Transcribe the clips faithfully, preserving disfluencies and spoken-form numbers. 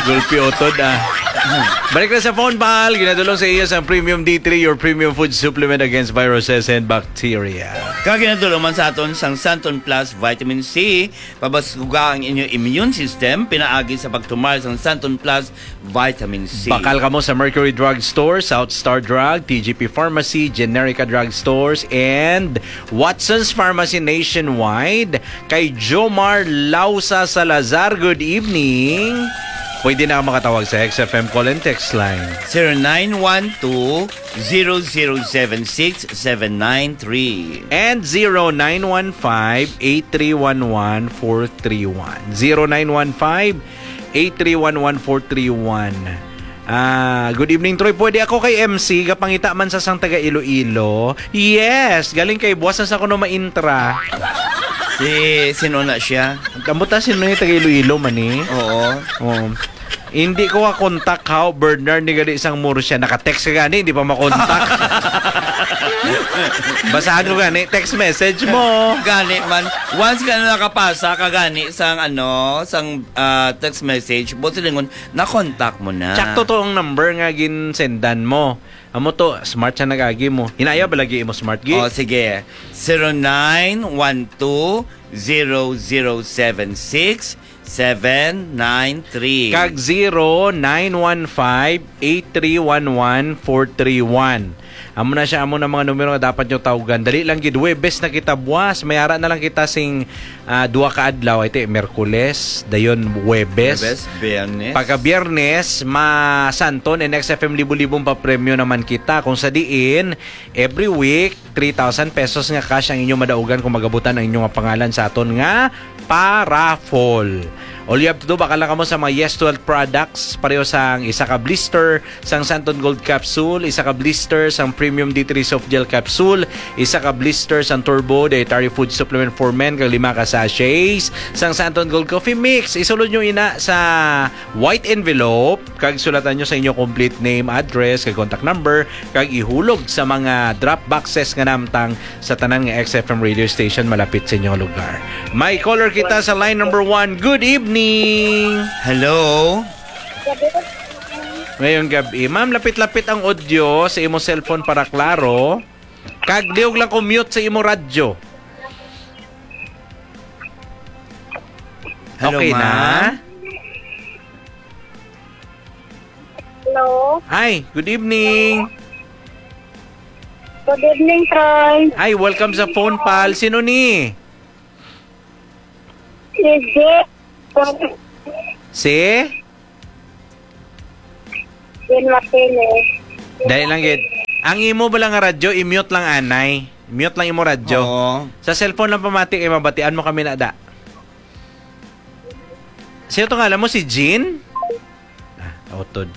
Gulpi utod, ah. Balik na sa phone, pal. Ginadulong sa iyo sang Premium D three, your premium food supplement against viruses and bacteria. Kag ginadulong man sa aton sang Santon Plus Vitamin C, pabaskuga ang inyo immune system, pinaagi sa pagtumar sang Santon Plus Vitamin C. Bakal kamo sa Mercury Drug Store, South Star Drug, T G P Pharmacy, Generica Drug Stores, and Watson's Pharmacy nationwide. Kay Jomar Lausa Salazar, good evening. Pwede na makatawag sa X F M call and text line. Zero nine one two, zero zero seven six, seven nine three. And zero nine one five, eight three one one, four three one. Zero nine one five, eight three one one, four three one. Ah, good evening, Troy. Pwede ako kay M C, gapangita man sa sang taga Iloilo. Yes, galing kay buwas na sa kuno maintra. Si, sino na siya? Ambot ta, sino yung taga Iloilo man eh? Oo. Oo. Hindi ko ka-contact, how, Bernard, ni gani sang Murcia. Naka-text ka gani, hindi pa makontak. Basahan ko gani, text message mo. Gani man, once ka na nakapasa ka gani sang, ano, sang, ah, text message, buot silingon, na-contact mo na. Tsakto to ang number nga ginsendan mo. Amo to, smart siya nag-agi mo. Hinaya ba lagi imo smart, Gi? Oh, sige. Zero nine one two, zero zero seven six, seven nine three. Kag zero nine one five, eight three one one, four three one. Amo na siya, amo na mga numero nga dapat nyo tawgan. Dali lang gid, Huwebes na kita buwas. May ara na lang kita sing, ah, duha ka adlaw. Ito, Merkules, dayon Huwebes. Huwebes, Biyernes. Pagka Biyernes, masanton and X F M libo-libong papremyo naman kita. Kung sa diin, every week, three thousand pesos nga cash ang inyong madaugan kung magabutan ang inyong pangalan sa aton nga pa-raffle. All you have to do, bakal lang kamo sa mga Yes twelve products, pareho sang isa ka blister sang Santon Gold Capsule, isa ka blister sang Premium D three Soft Gel Capsule, isa ka blister sang Turbo Dietary Food Supplement for Men, kag lima ka sachets sang Santon Gold Coffee Mix. Isulod nyo ina sa white envelope, kag sulatan nyo sa inyo complete name, address, kag contact number, kag ihulog sa mga drop boxes nga namtang sa tanan nga X F M radio station malapit sa inyong lugar. May caller kita sa line number one. Good evening! Hello? Ngayong gabi. Ma'am, lapit-lapit ang audio sa imo cellphone para klaro. Kag liog lang ko mute sa imo radyo. Hello, okay na? Ma'am? Hello. Hi, good evening. Good evening, Troy. Hi, welcome sa phone, pal. Sino ni? Si Jay. Si? Jane Martinez. Dali lang gid. Ang imo bala nga radyo, i-mute lang anay. Mute lang imo radyo. Oo. Sa cellphone lang pamati kay mabatian mo kami na da. Sino to ngalan mo? Si Jean? Ah, utod.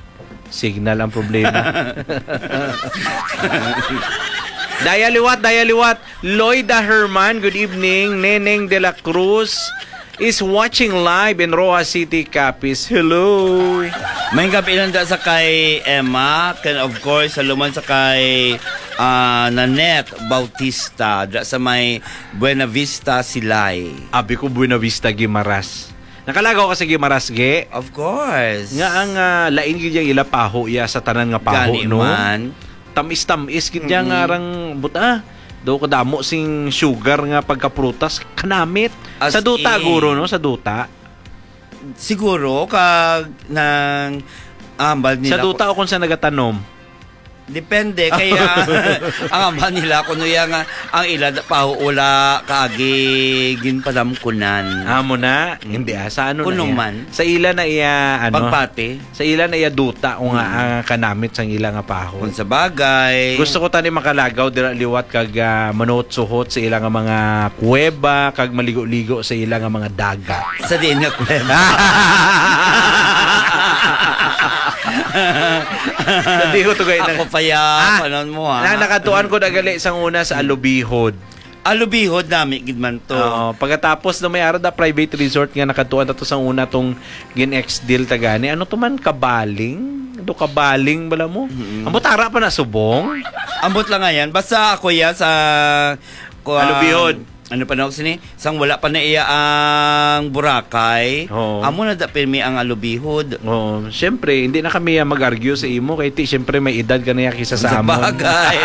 Signal ang problema. Daya liwat, daya liwat. Loida Herman, good evening. Neneng de la Cruz is watching live in Roxas City, Capiz. Hello. May gabi lang da sa kay Emma, and of course, sa luman sa kay, ah, Nanette Bautista, da sa may Buena Vista, Silay. Abi ko Buena Vista, Guimaras. Nakalagaw ka sa Guimaras, Ge? Of course. Nga ang, ah, lain gyud yang ila paho, ya, sa tanan nga paho, gani no? Man. Tamis-tamis gid yang, mm-mm, arang buta. Do kadamo sing sugar nga pagkaprutas, kanamit. As in. Sa duta, guro, no? Sa duta. Siguro, kag nang ambal nila. Sa duta o kung sa nagatanom? Depende, kaya ang ambal nila, kuno ya nga, ang ila da-, pa, wala kaagi ginpanamkunan. Amo na? Mm. Hindi, ah. Sa ano na iya? Kuno man. Sa ila na iya, ano? Pagpati. Sa ila na iya duta o nga, mm, ang kanamit sang ila nga paho. Kung sa bagay. Gusto ko tani makalagaw dira liwat kag, ah, manuhot-suhot sa ila nga mga kuweba kag maligo-ligo sa ila nga mga dagat. Sa diin nga kuweba? Sa diho to gay na. Ako pa ya, ah, panon mo, ha? Na, nakadtuan ko na gali sang una sa Alubihod. Alubihod nami gid man to. Oo, pagkatapos na may ara da private resort nga nakadtuan ta to sang una tong gin-ex deal ta gani. Ano to man, Kabaling? Do Kabaling bala mo? Mm-mm. Ambot ara pa na subong? Ambot lang nga yan. Basta ako ya sa, kuwan, Alubihod. Ano pa na sini? Sang wala pa na iya ang Boracay. Oo. Amo na da pirmi ang alubihod. Oo. Siyempre, hindi na kami, ah, mag-argue sa imo. Kay ti, siyempre, may edad ka na ya kisa sa Sa amon. bagay.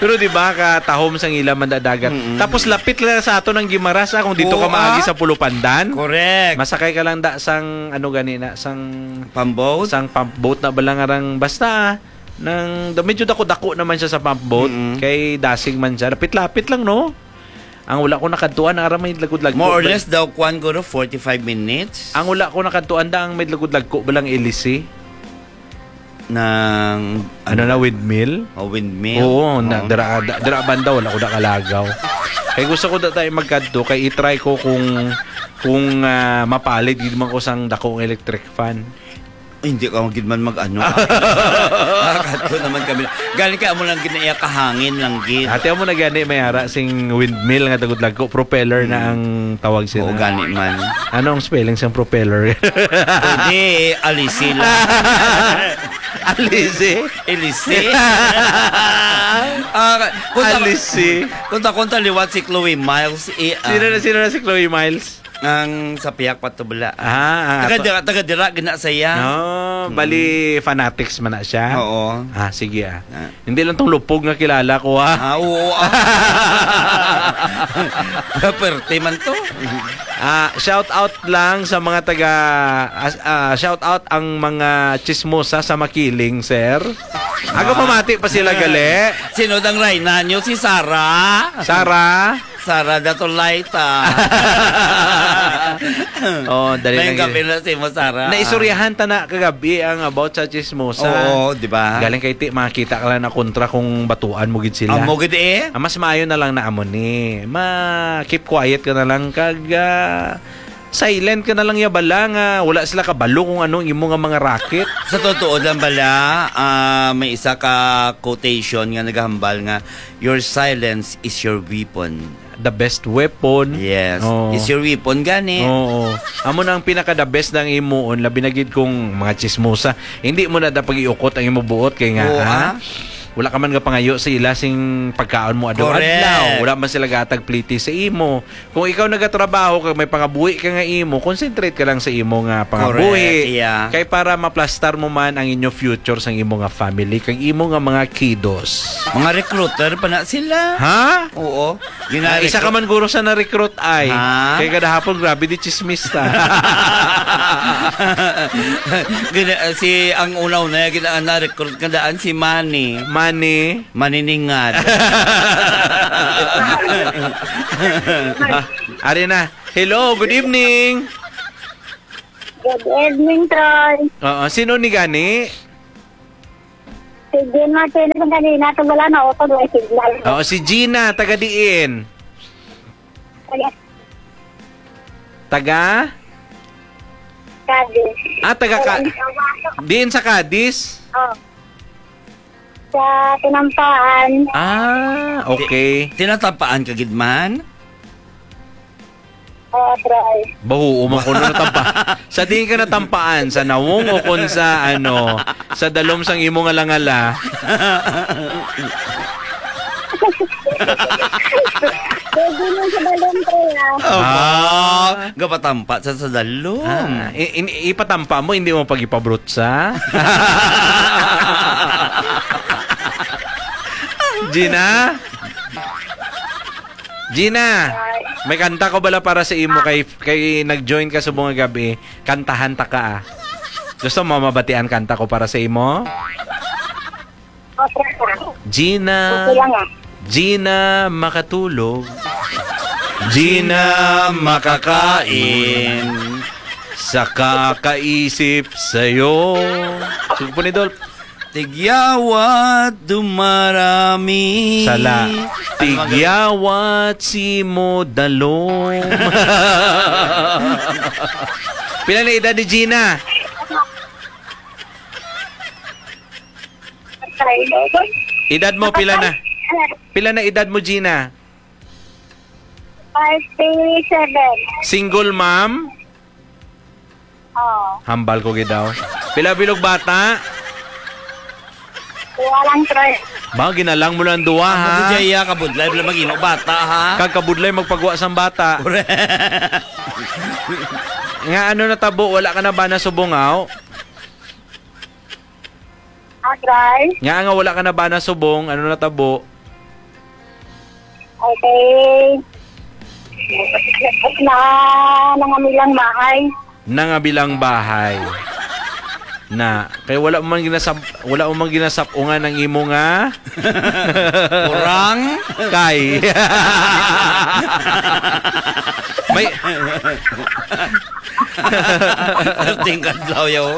Pero di ba, katahom sang ila man da dagat. Mm-mm. Tapos lapit lang sa ato ng Guimaras, ah, kung dito Oo, ka maagi ah. sa Pulupandan. Correct. Masakay ka lang da sang, ano gani na, sang Pump boat? sang pump boat na ba lang arang, basta, ah, nang, da-, medyo dako-dako naman siya sa pump boat. Mm-mm. Kay dasig man siya. Lapit-lapit lang, no? Ang wala ko nakadtuan, ara may lagod-lagko More or ba? less daw, kwan, guro, forty-five minutes. Ang wala ko nakadtuan da, ang may lagod-lagko ba lang ilisi? Ng, Ano na, windmill? O windmill? Oo, na, Oo. dira, da-, dira banda, wala ko nakalagaw. Kay gusto ko da tayo magkadto, kay i-try ko kung, kung, ah, mapalid gid man ko sang dako nga electric fan. Ay, hindi ka gid man mag-ano. Nakadto naman kami. Galing kay amo lang gid na iya kahangin lang gid. Ate, amo na gani may ara sing windmill nga tagod lagko, propeller na Hmm. ang tawag sila. Oo, gani man. Ano ang spelling sang propeller? Hindi, alisi lang. Alisi? Ilisi. Ah, kung ta-, Alisi. kung ta-, kung ta liwat si Chloe Miles, i-, ah, Sino na, sino na si Chloe Miles? Ang sa Piak Patubla. Ah, ang Taga ato- dira, taga dira, gina saya. No, Mm. bali fanatics man na siya. Oo. Ah, sige, ah. Ah. Hindi lang tong lupog nga kilala ko, ah. Ah, oo, ah. Perte man to. Ah, shout out lang sa mga taga, ah, ah, shout out ang mga chismosa sa Makiling, sir. Aga Ah. pamati pa sila, gali. Sino dang rayna nyo? Si Sarah? Sarah? Sarah Datulay ta. Oh, dali May lang gabi yun. na si mo, Sarah. Naisuryahan ta na kagabi ang about sa chismosa. Oo, di ba? Galing kay ti, makita ka lang na kontra kung batuan mo gid sila. Amo gid eh. Ah, mas maayo na lang na amo ni. Ma, keep quiet ka na lang kag, ah, silent ka na lang ya bala nga wala sila kabalo kung ano ang imo nga mga racket. Sa totoo lang bala, ah, may isa ka quotation nga nagahambal nga, "Your silence is your weapon." The best weapon. Yes. Oo. Is your weapon gani. Oo. Amo na ang pinaka the best na ang imuon, labi na gid kung mga chismosa. Hindi mo na dapat iukot ang imo buot kay nga, Oo, ha? ah. Wala ka man nga pangayo sa ila sing pagkaon mo adlaw-adlaw. Correct. Wala man sila gatag pliti sa imo. Kung ikaw nagatrabaho kag may pangabuhi ka nga imo, concentrate ka lang sa imo nga pangabuhi. Correct, yeah. Kay para maplastar mo man ang inyo future sang imo nga family kag imo nga mga kiddos. Mga recruiter pa na sila. Ha? Oo. Yun Ah, na isa recruit- ka man guro sa na-recruit ay. Ha? Kay kada hapon, grabe di chismis ta. Gina-, si ang una-una, gina-, na-recruit ka daan, si Manny. Manny. Maniningad. Ah, ari na. Hello, good evening. Good evening, Troy. Oo, sino ni gani? Si Gina, sino sa kanina? Ito wala na, auto, wala signal. Oo, si Gina, taga diin? Taga? Taga? Cadiz. Ah, taga Ka-, Taga diin sa Cadiz? Oh. Sa Tinampaan. Ah, okay. Ti-, tinatampaan ka gid man? Oo, try. Bahuo man kuno natampa-, sa diin ka natampaan, sa nawong o kon sa, ano, sa dalom sang imo nga langala? Pwede mo sa dalom, try, ah. Aba, Ah. gapatampa sa, sa dalom. Ah, i-, in-, ipatampa mo, hindi mo pag-ipabrutsa? Gina? Gina, may kanta ko bala para sa imo kay, kay nag-join ka subong nga gabi. Kantahan ta ka, ah. Gusto mo mabatian kanta ko para sa imo? Okay lang. Gina, Okay lang, ah. Gina makatulog. Gina makakain. Sa kakaisip sa'yo. Sige po ni Dolph. Tigyawat dumarami. Sala. Ano man Tigyawat si mo dalom. Pila na edad ni Gina? Edad mo, pila na? Pila na edad mo, Gina? Forty-seven. Single mom? Oo. Hambal ko gid daw. Pila bilog bata? Walang try. Ba, ginalang mo lang duwa, ha? Ang Jaya, kabudlay, wala mag-ino, bata, ha? Kag kabudlay magpagwa sang bata. Correct. Nga ano natabo, wala ka na ba nasubong, aw? Ah, try? Nga nga wala ka na ba nasubong, ano natabo? Okay. Na, nangamilang bahay. Nangabilang bahay. Na, kay wala mo man ginasab-, wala mo man ginasap-ungan ang imo nga Kurang? Kay. May Perting kadlaw, yo.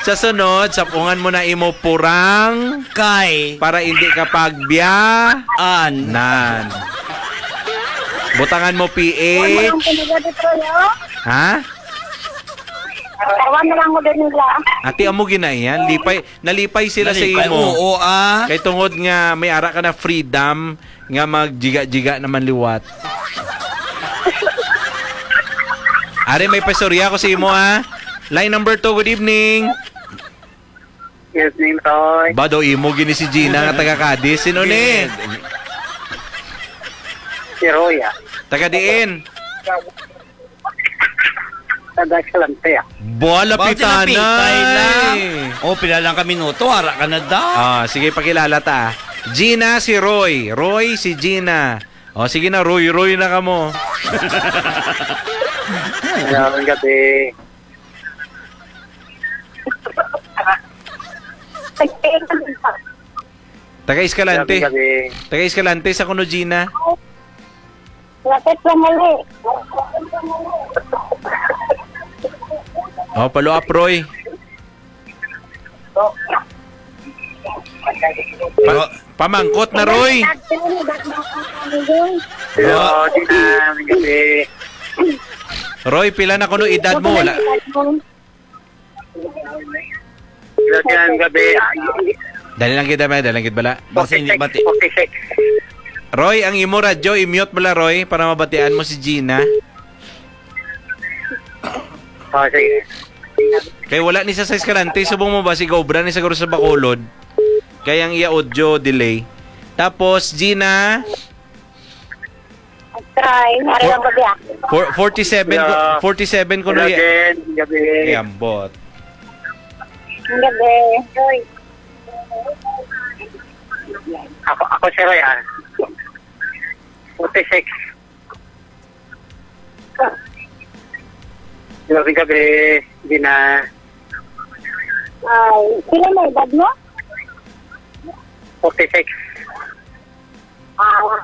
Sa sunod, sapungan mo na imo purang Kay. Para hindi ka pagbiya. An. Nan. Butangan mo P H. Ano ang pinagdadito, yo? Ha? Tawan na lang ko din nila. Ate, amo gina yan. Lipay, nalipay sila sa Nalipay, imo. Oo, ah. Kay tungod nga may ara ka na freedom nga magjiga-jiga naman liwat. Are, may pastorya ko sa imo, ha. Line number two, good evening. Yes, Ning Toy. Ba daw imo gini si Gina nga taga Cadiz? Sino ni? Si Roya. Taga diin? Taga Escalante, ah. Ba, Ba, lapitay na. Lapitay na. Oh, pila lang ka minuto, ara ka na da. Ah, sige, pakilala ta. Gina, si Roy. Roy, si Gina. Oh, sige na, Roy, Roy na kamo. Hello, gabi. Taga Escalante. Gabi, gabi. Taga Escalante sa kuno, Gina. Lapit lang uli. Oh, follow up, Roy. Pa-, pamangkot na, Roy. Hello, Gina. Gabi. Roy, pila na kuno edad mo? Wala. Lagyan gabi. Dali lang kita, may dali lang kita bala. Basta hindi forty-six, bati. Forty-six. Roy, ang imo radyo, i-mute bala, Roy, para mabatian mo si Gina. Oh, sige. Kay wala ni sa Escalante, subong mo ba si Gobra ni siguro sa Bacolod? Kay ang iya audio delay. Tapos, Gina, Try. Ari ang gabi, ah. For-, forty-seven ko, Yeah. Forty-seven ko Hello, na y-, Jen. Gabi. Ay, ambot. Ang gabi. Ako, ako si Roy, ah. Forty-six. Gabi, gabi. Hindi na. Ay, sino may edad mo? Forty-six. Ah.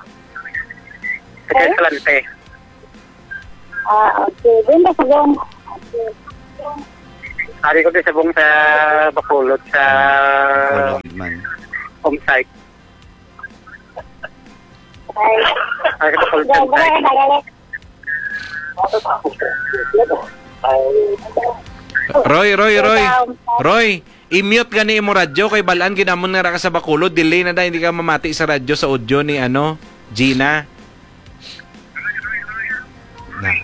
Taga Okay. Escalante. Ah, okay. Doon ka sa Bong. Okay. Ari ko din sa Bong sa Bacolod, sa Bacolod man. Home site. Ay. Ari ko sa Bacolod, Dobre, home site. Magalit. Roy, Roy, Roy. Ikaw. Roy, i-mute gani imo radyo kay balaan gid namon nga ra ka sa Bacolod, delay na da, hindi ka mamati sa radyo sa audio ni, ano, Gina. Na.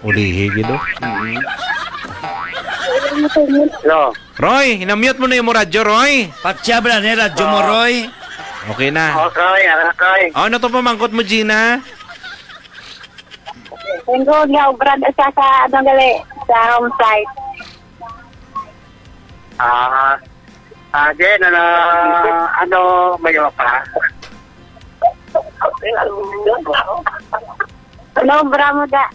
Ulihi gid, oh. Hello. Roy, hinamute mo na imo radyo, Roy. Patya ba na ni radyo mo, Oo. Roy? Okay na. Oh, Roy, ano, Roy? Oh, ano to pamangkot mo, Gina? Linggo nga obra na siya sa, ano, gali, sa home site. Ah, ah, Jen, ano, ano, may iba pa? Ano, obra mo da?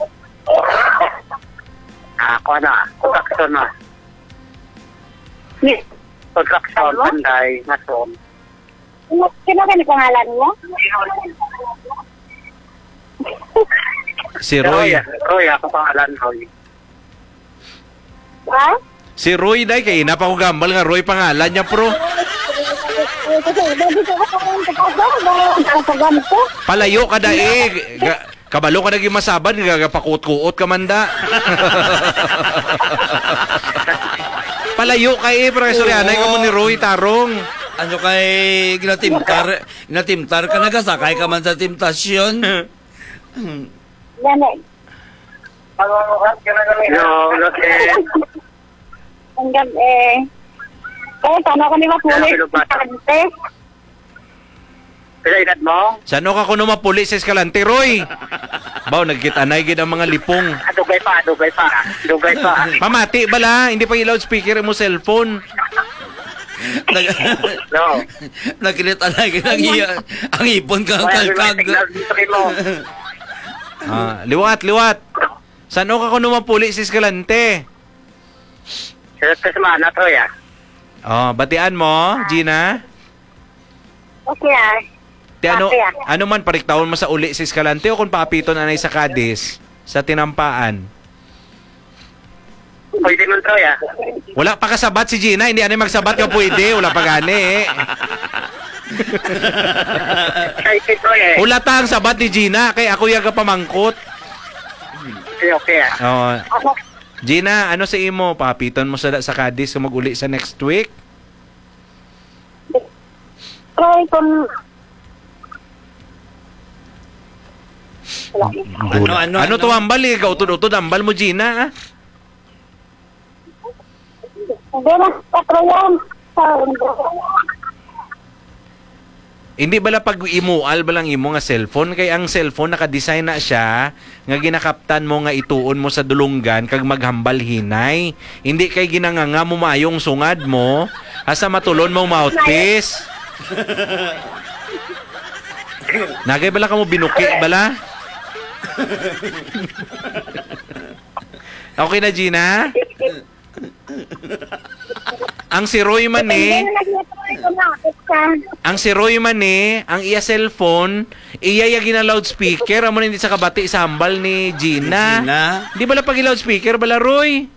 Ah, ako na, construction na. Ni- Construction, Ano? Panday, Mason. Sino, sino ka ni pangalan mo? Si Roy. Roy, Roy, ako pangalan, Roy. Ha? Si Roy, day, kay ina pa ko gambal nga Roy pangalan niya, pro. Kasi, baby ko, ako ang taga-, ang taga-, ang taga-, Palayo ka, day. Ga-, Kabalo ka na gyud masabad, nga gapakut-kuot ka man da. Palayo ka, eh, pero kay Sorianay ka mo ni Oo. Roy Tarong. Ano kay ginatimtar, ginatimtar ka, nagasakay ka man sa temptasyon? Gani. Hello, hello, Jen. Ang gabi. Eh, paano ko ni mapulis? Ano, Pilog Bata? Pila edad mo? Sano ka kuno mapuli sa Escalante, Roy? Baw, nagkit-anay gid ang mga lipong. Ah, dugay pa, dugay pa. Dugay pa. Pamati bala, hindi pa i-loudspeaker mo cellphone. Nag- No. Nagkit-anay gid ang iya, ang ipon ka Wala may kalkag. Signal dito mo. Ah, liwat, liwat. Sano ka kuno mapuli sa Escalante? Sa, sa semana, Troy, ah. Oh, batian mo, Gina? Okay, ah. Ti ano, Okay, ah. Ano man, pariktawon mo sa uli sa Escalante o kung paapiton anay sa Cadiz, sa Tinampaan? Pwede man, Troy, ah. Wala pa kasabat si Gina, hindi anay magsabat nga pwede, wala pa gani, eh. Excited, Troy, eh. Wala ta ang sabat ni Gina, kay ako yaga pamangkot. Okay, okay, ah. Oo. Ako, Gina, ano sa imo? Papiton mo sa, sa Cadiz kung mag-uli sa next week? Try kung Ano, ano, Ano to ano? Ambal, eh? Kautod-utod ambal mo, Gina, ah? Hindi na, patro yan. Hindi bala pag-imual bala ang imo nga cellphone? Kay ang cellphone naka-design na siya nga ginakaptan mo nga ituon mo sa dulunggan kag maghambal hinay. Hindi kay ginanganga mo maayo ang sungad mo, hasta matulon mo ang mouthpiece. Nagay bala kamo binuki bala? Okay na, Gina? Ang si Roy man ni, Hindi na nag-try ko na. Ang si Roy man ni, ang iya cellphone, iya ya gina-loudspeaker, amo na hindi sa kabati sa hambal ni Gina. Gina? Di bala pag loudspeaker bala, Roy?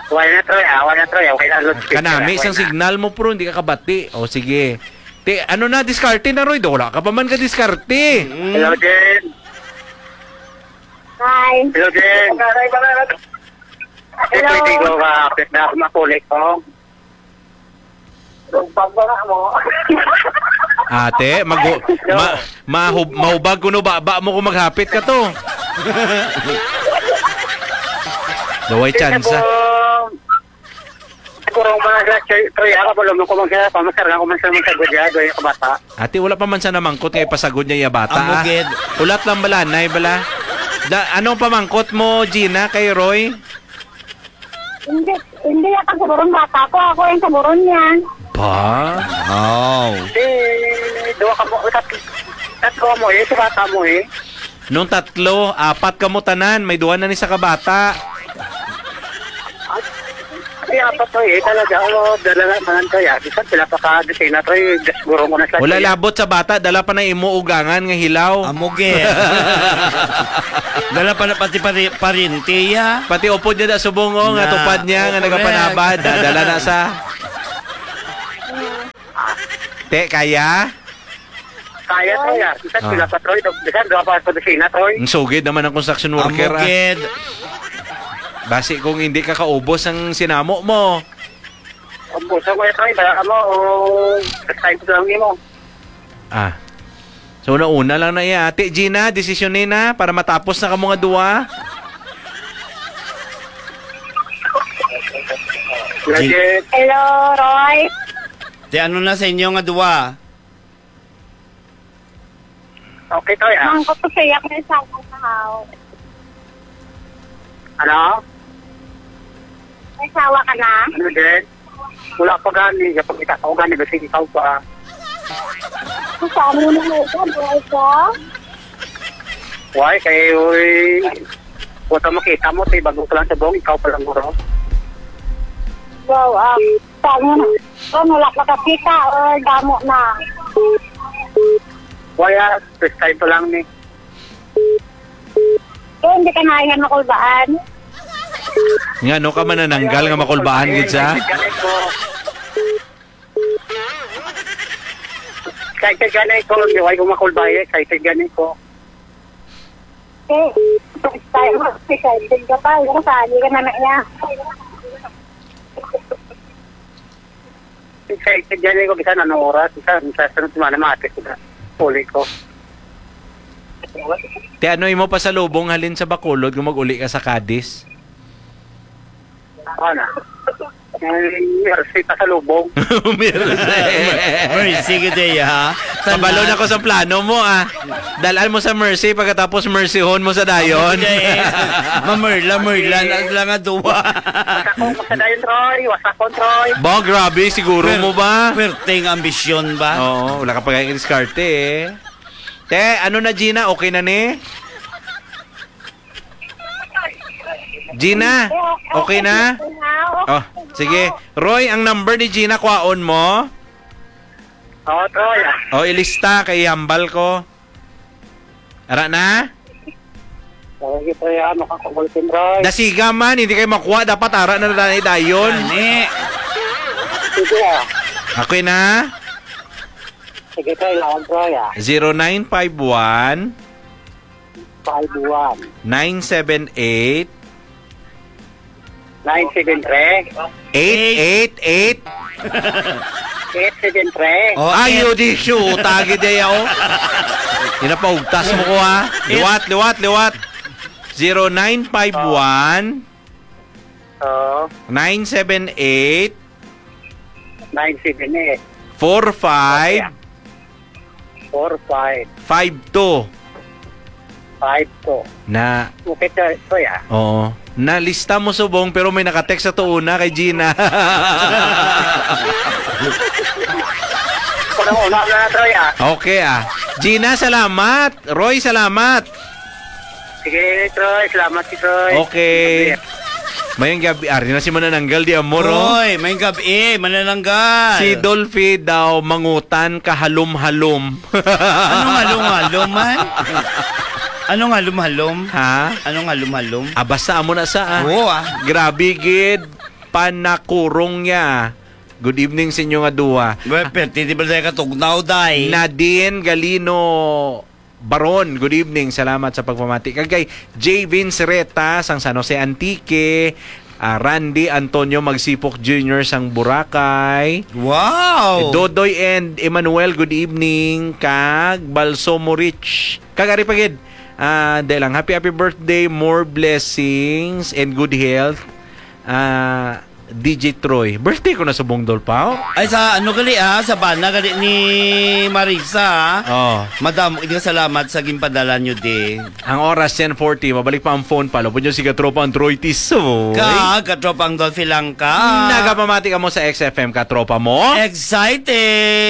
Wala na, Troy, ah. Wala na, Troy. Okay na, loudspeaker, Kanami, ah. Isang Okay na. Signal mo, pro, hindi ka kabati. O, sige. Ti, ano na, diskarte na, Roy? Wala ka pa man ka diskarte. Mm. Hello, Jen. Hi. Hello, Jen. Hello. Ito, hindi ko ka-, kapit na ako makulit, oh. Pagbaga mo. Ate, magu-, ma-, mahub-, mahubag kuno ba, ba mo kung maghapit ka to. Daway Hindi na tsansa. po. Siguro, mga sa, sa, Troy, ako po, lumang ko man siya, pamasar nga ko man siya, man sa gudya, doy, kabata. Ate, wala pa man siya namangkot nga ipasagod niya iya bata, Amo ah. Gid. Ulat lang bala, nay bala. Da, anong pamangkot mo, Gina, kay Roy? Hindi, hindi ako siguro ang bata ko. Ako yung siguro niya. Ba? Wow. Hindi, duha ka mo, tat-, tatlo mo eh, sa bata mo eh. Nung tatlo, apat kamo tanan, may duha na ni sa kabata. Ay, apat to eh, talaga. Oh, dala na, mangan kaya. Bisan sila pa ka, di sila to eh, gas gurong ko na sa Wala tiyan. Labot sa bata, dala pa na imo ugangan nga hilaw. Amo gid. Dala pa na pati pari-, parinti, ya. Pati upod niya da subong, oh, nga Na, tupad niya, oh, nga correct. Nagapanabad, dadala na sa Te, kaya? Kaya, Troy, ah. Bisan Ah. Sila pa, Troy. Bisan, duha pa sa kusina, Troy. Ang sugid naman ang construction worker, Amo ah. Gid. Basi kung hindi ka kaubos ang sinamo mo. Ang puso mo, Troy, bala mo, o, time ko lang nimo. Ah. So, una-una lang na iya. Ate Gina, desisyon ni na para matapos na kamo nga duwa. Graduate. Hello, Roy. Te, ano na sa inyo nga duwa? Okay, Troy, ah. Mangkot ko sa iya, may asawa na ako. Ano? May asawa ka na? Ano din? Wala pa gani. Kapag kita ko gani, basta ikaw pa. Saan mo na ito? Buhay ka? Why? Kay, uy, wala makita mo, te, bago ka lang sa buong, ikaw pa lang, guro. Wow, ah, saan mo na? Kung wala pa ka kita or damo na? Why, ah, first time pa lang ni. Eh, hindi ka na yan makulbaan? Nga, no ka manananggal nga makulbaan gid sa? Excited gani ko, di wala ko makulbay, excited gani ko. Eh, first time, excited ka pa, yung sali ka na na iya. Excited gani ko, bisan anong oras, bisan sa sunod semana, matis ko na. Uli ko. Te, ano imo pasalubong halin sa Bacolod kung mag-uli ka sa Cadiz? Ano? Ang mercy pa sa lubong. Mercy. Mercy gid, eh, ha? Kabalo na ko sa plano mo, ah. Dalan mo sa mercy, pagkatapos mercyhon mo sa dayon. Gid, eh. Mamerla-merla na lang ang duwa. Wasakon ko sa dayon, Troy. Wasakon, Troy. Ba, grabe, siguro Pwer-, mo ba? Pwerteng ambisyon ba? Oo, wala ka pa kaya diskarte, eh. Te, ano na, Gina? Okay na ni? Gina, okay na? Oh, sige. Roy, ang number ni Gina, kwaon mo? Oo, Troy, ah. Oh, ilista kay hambal ko. Ara na? Sige, Troy, ah, makakabulletin, Troy. Dasiga man, hindi kayo makuha. Dapat ara na na dayon. Gani. Sige, ah. Okay na? Sige, Troy, lawan, Troy, ah. Zero nine five one. Five one. Nine seven eight. Nine seven three. Eight eight eight. Eight seven three. Oh, Ay, eight. Yun, di, shoot. Tagi di, oh. Ginapaugtas mo ko, ha? Eight. Liwat, liwat, liwat. Zero nine five one, Oo. nine seven eight, Nine seven eight. four five, Four five. Five two. Five two. Na, Okay, sir. Kuya. Oo. Nalista mo subong, pero may nakatext sa tuuna kay Gina. Kung una na, Troy, ah. Okay, ah. Gina, salamat. Roy, salamat. Sige, Troy. Salamat, si Troy. Okay. Mayang gabi. Ari na si Manananggal di Amor, oh. Oy, may gabi, manananggal. Si Dolphy daw mangutan kahalom-halom. Anong halom-halom, man? Anong halom-halom? Ha? Anong halom-halom? Ah, basta amo na sa, ah. Oo, ah. Grabe gid, panakurong niya. Good evening sa inyo nga duha. Well, pwerte, di ba tayo katugnaw, day? Nadine Galino Baron, good evening. Salamat sa pagpamati. Kag kay J Vince Reta sang San Jose Antique, ah, Randy Antonio Magsipok Junior sang Boracay. Wow! Dodoy and Emmanuel, good evening. Kag Balsomo Rich. Kag ari pa gid. Ah, dahil lang, happy, happy birthday, more blessings and good health. Ah, D J Troy. Birthday ko na sa Bungdol pa, oh. Ay, sa ano gali, ah? Sa bana gali ni Marisa, ah. Oh. Madam, salamat sa ginpadala nyo, di. Ang oras, ten forty. Mabalik pa ang phone pa. Lupod nyo si Katropa ang Troy Tisoy. Ka, Katropa ang Dolphy Langka. Nagapamati ka mo sa X F M, Katropa mo. Exciting!